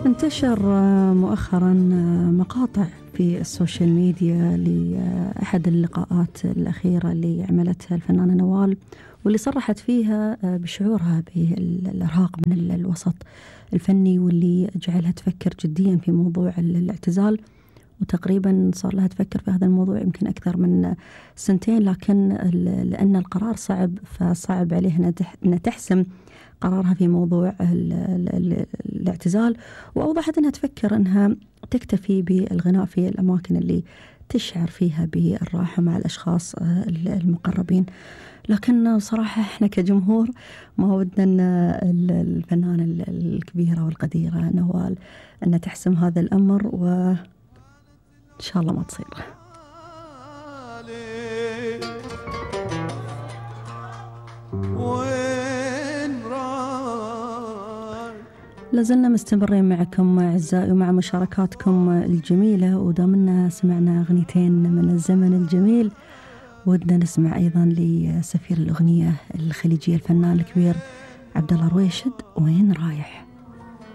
انتشر مؤخرا مقاطع في السوشيال ميديا لأحد اللقاءات الأخيرة اللي عملتها الفنانة نوال، واللي صرحت فيها بشعورها بالإرهاق من الوسط الفني، واللي جعلها تفكر جديا في موضوع الاعتزال. وتقريبا صار لها تفكر في هذا الموضوع يمكن أكثر من سنتين، لكن لأن القرار صعب فصعب عليها أن تحسم قرارها في موضوع الاعتزال. وأوضحت أنها تفكر أنها تكتفي بالغناء في الأماكن اللي تشعر فيها بالراحة مع الأشخاص المقربين. لكن صراحة إحنا كجمهور ما ودنا الفنانة الكبيرة والقديرة نوال أن تحسم هذا الأمر، وإن شاء الله ما تصير. لازلنا مستمرين معكم أعزائي ومع مشاركاتكم الجميلة، ودامنا سمعنا أغنيتين من الزمن الجميل ودنا نسمع أيضا لسفير الأغنية الخليجية الفنان الكبير عبد الله رويشد، وين رايح.